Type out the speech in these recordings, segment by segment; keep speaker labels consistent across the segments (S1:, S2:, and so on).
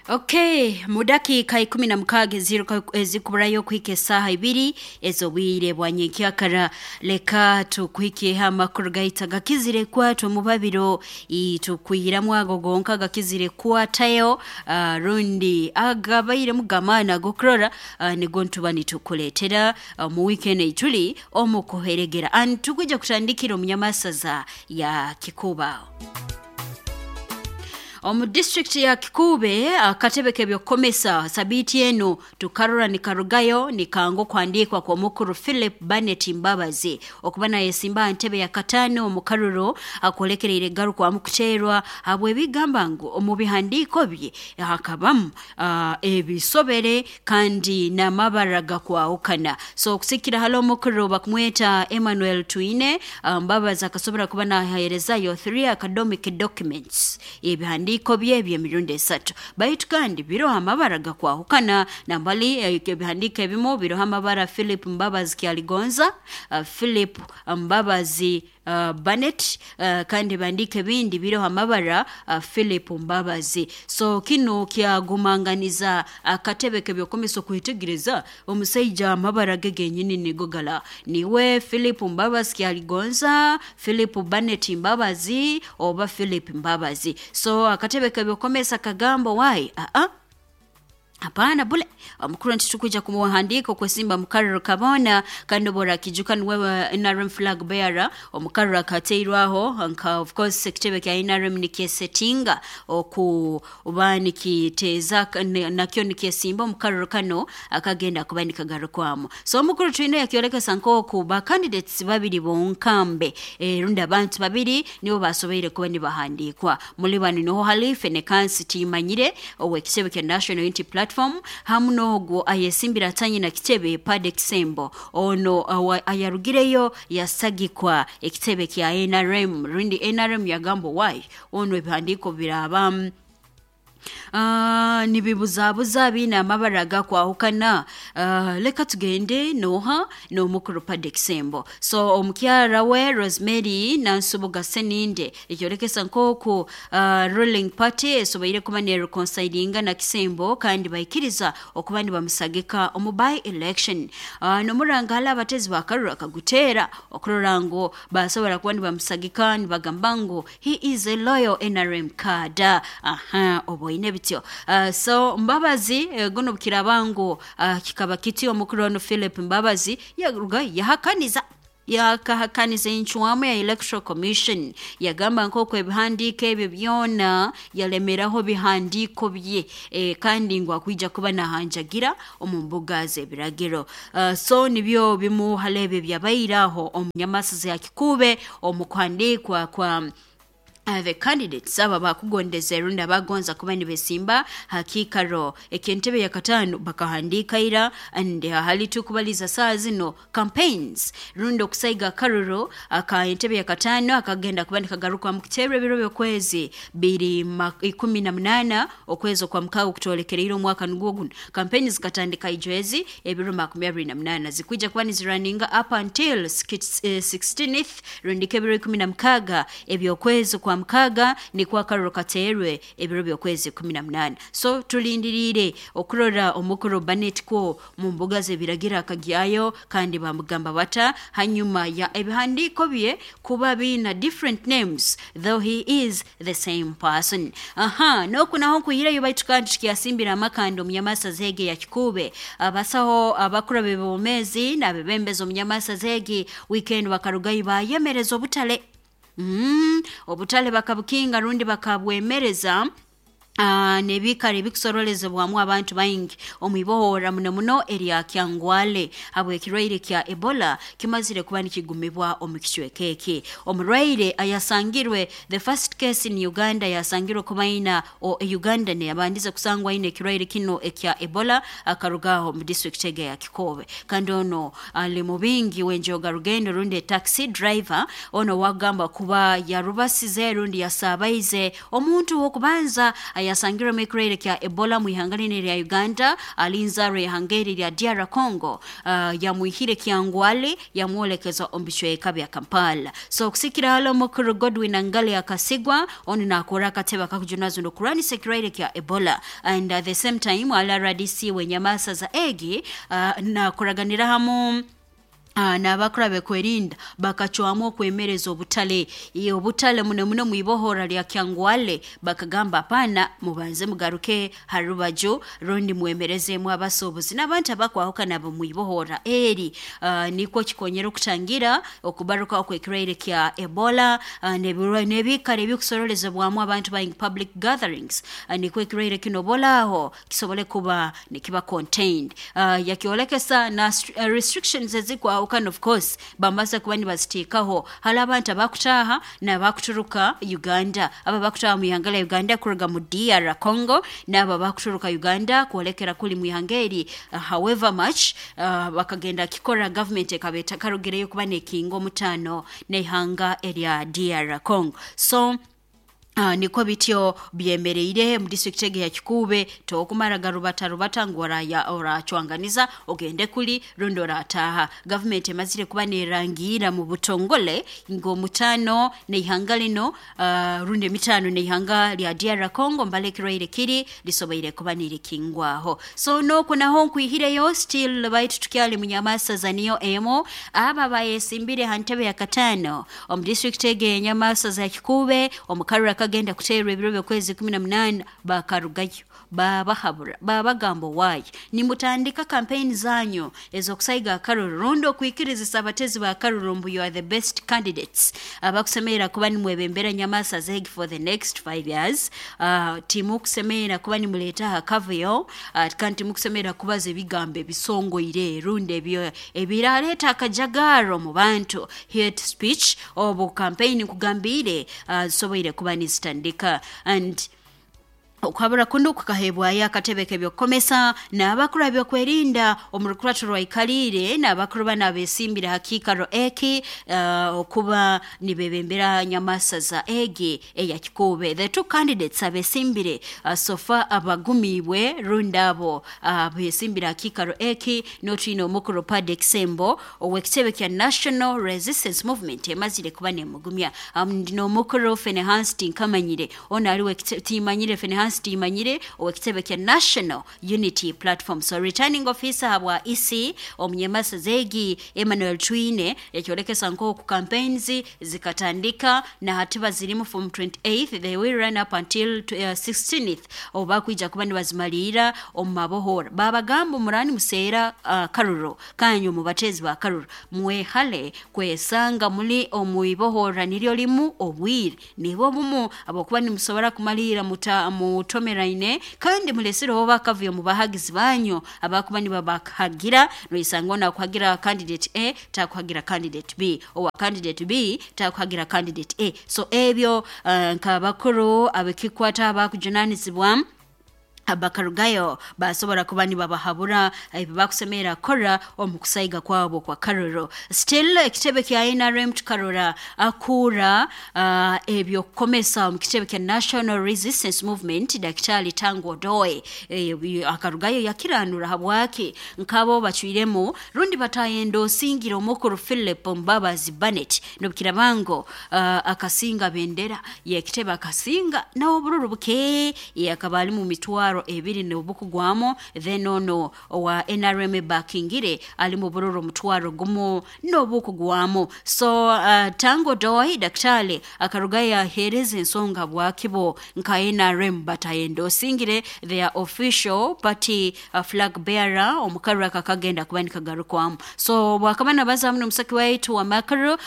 S1: Okay, mu dakiika 16 ezikuburayo kuhika esaaha 2 ez'obwire bwa nyenkyakara, leka tukuhikyeho amakuru gaitu agakizire kwatwa omu babiro. Tukwihiramu ago gonka agakizire kukwatayo, rundi agabairemu g'amaani ag'okurora, nigo nituba nitukuleetera mu wiiki enu eituli omu kuheregera. And tukwija kutandikira omu nyamasaza ya Kikuba. Omu disitulikiti ya Kikuube, akatebe k'ebyokukomesa sabiiti enu tukarora nikarugayo nikanga okuhandiikwa kw'omukuru Philip Barnett Mbabazi okuba nayesimba aha ntebe ya kataano omu karuro akolekereire garukwamu kuteerwa habw'ebigamba ngu omu bihandiiko bye hakabamu ebisobere kandi n'amabara gakwahukana. So okusikira hali omukuru bakumweta Emmanuel Twine, Mbabazi akasobora kuba naheerezayo 3 academic documents, ebihandiiko bye eby'emirundi 3, baitu kandi biroho amabara gakwahukana. Nambali ebihandiiko ebimu biroho amabara Philip Mbabazi Kyaligonza, Philip Mbabazi Barnett, kandi ebihandiiko ebindi biroho amabara Philip Mbabazi. So kinu kyagumanganiza akatebe k'ebyokumisa okwetegereza omusaija amabara ge genyini nigo gala niwe Philip Mbabazi Kyaligonza, Philip Barnett Mbabazi oba Philip Mbabazi. So akatebe k'ebyokumisa kagamba, wai aa, hapana, bule omukuru ntitukwija kumuhandiika okwesimba mukaruro kabona. Kandi obu orakijuka, niwe NRM flag bearer omukaruro akateirwaho nka, of course, ekitebe kya NRM nikyesetinga okuba nikiteeza nakyo nikyesimba omukaruro kano akagenda kuba nikagarukwamu. So omukuru Twine yakyolekesa nk'oku ba candidates babiri bonkambe, rundi abantu babiri nibo basoboire kuba nibahandiikwa. Muli banu niho hali Fenekansi Timanyire ow'ekitebe kya National Unity Platform hamu n'ogwo ayesimbire atanyina kitebe, Pade Kisembo, ono ayarugireyo yasagikwa ekitebe kya NRM, rundi NRM yagamba, wai, ono ebihandiiko biraba nibibuzabuza, biine amabara agakwahukana, leka tugende noha n'omukuru Pade Kisembo. So omukyara we Rosemary Nansubuga Seninde ekyolekesa nk'oku ruling party esoboire kuba nereconcilinga na Kisembo kandi baikiriza okuba nibamusagika omu by election. Nomuranga hali abatezi bakarura akaguteera okurora ngu basobora kuba nibamusagika, nibagamba ngu he is a loyal NRM cadre. Aha, oboine bityo. So Mbabazi, guno bukiraba ngu kikaba kiti, omukuru ono Philip Mbabazi yaruga yahakaniza, yakahakaniza encwamu ya Electoral Commission, yagamba nk'oku ebihandiiko ebyo byona yalemeraho bihandiiko bye, kandi ngu akwija kuba nahanjagira omu mbuga z'ebiragiro. So nibyo bimu hali ebyo byabaire aho omu nyamasaza ya Kikuube omu kuhandiikwa kwa the candidates aba bakugondeza rundi abagonza kuba nibesimba ha kiikaro eky'entebe ya kataano bakahandiika ira. And hali tukubaliza saa zino, campaigns rundi okusaiga akaruro aka entebe ya kataano akagenda kuba nikagarukwamu kuteerwa ebiro by'okwezi biri 18 okwezi okwa mukaaga okutwolekereire omwaka nugwo guno. Campaign zikatandika ijwezi ebiro 28, zikwija kuba niziraninga up until 16th rundi ebiro 16 ebyokwezi kwa mukaaga, nikwo akaruro kateerwe ebiro by'okwezi 18. So tulindiriire okurora omukuru Barnett kwo mu mbuga z'ebiragiro akagyayo kandi bamugamba bata hanyuma ya ebihandiiko bye kuba biina different names though he is the same person. Aha, noku naho nkuhireyo, baitu kandi tukyasimbira amakanda omunyamasa zege ya Kikuube. Abasaho abakuru b'ebyomeezi n'abebembezi omunyamasa zegi weekend bakarugayo bayemereza obutale, obutale bakabukinga rundi bakabwemereza n'ebiikaro ebikusorolezebwamu abantu baingi omu ibohora muno muno erya Kyangwale habw'ekirwaire kya Ebola kimazire kuba nikigumibwa omu kicweka eki. Omurwaire ayasangirwe, the first case in Uganda, yasangirwe kuba aina o Uganda neyabandize kusangwa aine ekirwaire kino ekya Ebola, akarugaho mu district ege ya Kikoobe, kandi ono ali mubingi w'enjoga rugendo rundi taxi driver. Ono wagamba kuba yarubasize rundi yasabaize omuntu w'okubanza. Ayasangirwemu ekirwaire kya Ebola mu ihanga lino lya Uganda alinzarwa ihanga eri lya DR Congo, yamwihire Kyangwale yamwolekeza omu bicweka bya Kampala. So okusikira hali omukuru Godwin Angale akasigwa onu nakora akatebe akakujunazo n'okurwanisa ekirwaire kya Ebola, and at the same time ala RDC wenyamasa za egi nakoraganira hamu n'abakuru abekwerinda bakacwamu okwemereza obutale obutale muno muno mwibohora lya Kyangwale. Bakagamba apana, mubanze mugaruke harubaju rundi mwemerezemu abasuubuzi n'abantu abakwahukana nabo mwibohora eri, nikwo kikonyera okutangira okubaruka okwekirwaire kya Ebola, n'ebikara ebikusororezebwamu abantu baingi, public gatherings, nikwo ekirwaire kino bolaaho kisobole kuba nikiba contained. Yakyolekesa na restrictions ezikwaho kandi of course bamaze kuba nibaziteekaho hali abantu abakutaaha n'abakuturuka Uganda, abo abakutaaha mu ihanga lya Uganda kuruga mu DR Congo n'abo abakuturuka Uganda kwolekera kuli mu ihanga eri. However much bakagenda kikora, government ekaba etakarugireyo kuba nekinga omutaano n'ihanga erya DR Congo. So nikwo bityo byemereire mu district ege ya Kikuube. Tokumara garubata rubata ngu oracwanganiza ogende kuli rundi orataha. Government emazire kuba nerangira mu butongole ngu omutaano n'ihanga lino, rundi emitaano n'ihanga lya DR Congo mbale ekirwaire kiri lisoboire kuba nirikingwaho. So nokwo naho nkwihireyo still baitu tukyali munyamasaza niyo emo, aba bayesimbire ha ntebe ya katano omu district ege y'enyamasaza ya Kikuube omu karura kagenda kuteerwa ebiro by'okwezi 18, bakarugayo babahabura, babagamba waayi nimutandika campaign zanyu ez'okusaiga akaruru rundi okwikirizisa abatezi ba karuru mbu you are the best candidates abakusemerera kuba nimwebembera nyamasa zegi for the next 5 years. Timukusemerera kuba nimuleeta akavuyo, kandi timukusemerera kubaza ebigambo ebisongoire rundi ebyo ebiraleeta akajagaro mu bantu, hate speech. Obu campaign nkugambiire zisoboire kuba nizitandika, and okuhabura kuno kukahebwayo akatebe k'ebyokukomesa n'abakuru abyokwerinda omu rukurato rwaikaliire n'abakuru bano abesimbire ha kiikaro eki, okuba nibebembera nyamasaza egi eya Kikuube. The two candidates abesimbire so far abagumiibwe rundi abo abesimbire ha kiikaro eki, n'otwine omukuru Paddy Kisembo ow'ekitebe kya National Resistance Movement emazire kuba nemugumya, n'omukuru Fenehans Tinkamanyire ono aliwe timanyire Fenehans Timanyire ow'ekitebe kya National Unity Platform. So returning officer habwa EC omunyamasa zegi Emmanuel Twine yakyolekesa nk'oku campaigns zikatandika na hatiba zirimu from 28th, they will run up until 16th oba kwija kuba nibazimalira omu mabohora. Babagamba murani museera karuro kanyu mubatezi ba karuro mwehale kwesanga muli omuibohora niryo limu obwire nibo bumu abokuba nimusobora kumalira mutomeraine kandi mulesireho bakavuyo mu bahagizi banyu abakuba nibabakahagira noisanga ona kuhagira candidate A takuhagira candidate B, owa candidate B takuhagira candidate A. So ebyo nk'abakuru abekikwata abakujunanizibwa bakarugayo basobora kuba nibabahabura ebi bakusemerera kukora omu kusaiga kwabo kwa karuro. Still ekitebe kya NRM tukarora akura ebyokukomesa omu kitebe kya National Resistance Movement Daktari Tango Odoe akarugayo yakiranura habwaki nkabo bacwiremu rundi batayenda osingira omukuru Philip Mbabazi Barnett nobukirabango akasinga bendera yekitebe akasinga n'obururu buke yakaba ali mu mitwaro ebiri n'obukugwamo, then ono owa NRM bakingire ali mu bururu mutwaro gumu n'obukugwamo. So Tango Doi daktari akarugayo ahereza ensonga bwakibo nka NRM batayenda osingire their official party flag bearer omukarura kakagenda kuba nikagarukwamu. So bwakaba nabaza muno omusaki waitu wa makuru,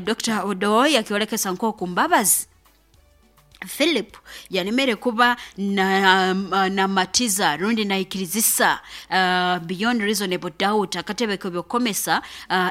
S1: Dr. Odoi akiolekesa nk'oku Mbabazi Philip yalemere kuba na matiza rundi naikirizisa beyond reasonable doubt akatebe k'ebyokukomesa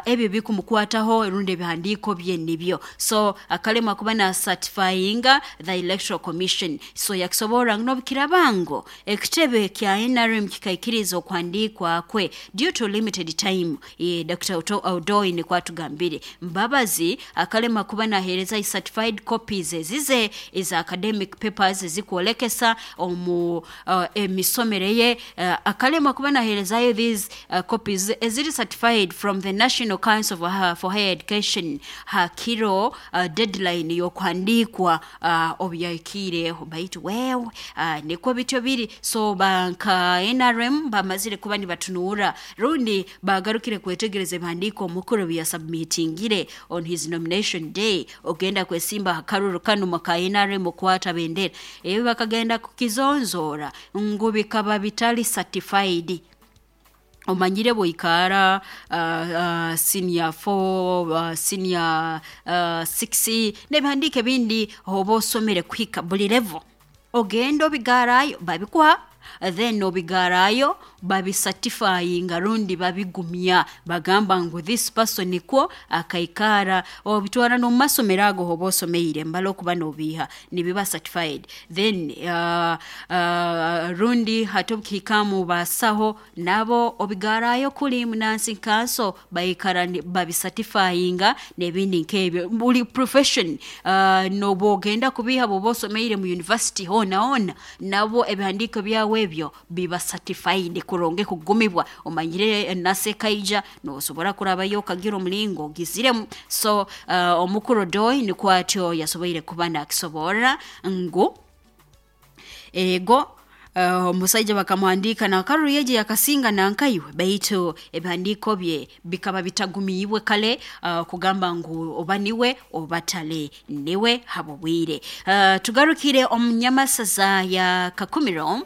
S1: ebyo bikumukwataho rundi ebihandiiko bye nibyo. So akalema kuba na certifyinga the Electoral Commission. So yakisobora n'obukirabango ekitebe kya NRM kikaikiriza okuhandiikwa kwe due to limited time. Dr. Odoi nikwatugambire Mbabazi akalema kuba nahereza certified copies ezize eza Academic papers ezikwolekesa omu emisomere ye, akalema kuba naherezayo these copies eziri certified from the National Council for Higher Education hakiro deadline y'okuhandiikwa obu yahikiireho. Baitu wewe, nikwo bityo biri. So banka NRM bamazire kuba nibatunuura rundi bagarukire kwetegereza ebihandiiko omukuru biyasubmitingire on his nomination day, ogenda kwesimba akaruru kanu muka NRM okwata bendera. Ebi bakagenda kukizonzoora ngu bikaba bitali certified. Omanyire bwoikara senior 4, senior 6 n'ebihandiiko ebindi oba osomere kuhika buli level, ogenda obigarayo babikuha, then obigarayo babisatifyinga rundi babigumya, bagamba ngu this person nikwo akaikara. Obitwara n'omu masomero ago oba osomeire mbala okuba n'obiiha nibiba certified. Then rundi hati obukihikamu basaho nabo obigarayo kuli munansi kanso baikara babisatifyinga n'ebindi nk'ebyo. Buli profession, noba ogenda kubiiha bwoba osomeire mu university hoona hoona, nabo ebihandiiko byawe ebyo biba certified kurungi kugumibwa. Omanyire nasekaija nosobora kurabayo okagira omulingo ogiziremu. So omukuru Odoi nikwo atyo yasoboire kuba nakisoborra ngu ego, omusaija bakamuhandiika nakaruru yeje yakasinga nankaiwe, baitu ebihandiiko bye bikaba bitagumiibwe kale kugamba ngu oba niwe oba tale niwe habobwire. Tugarukire omu nyamasaza ya Kakumiro.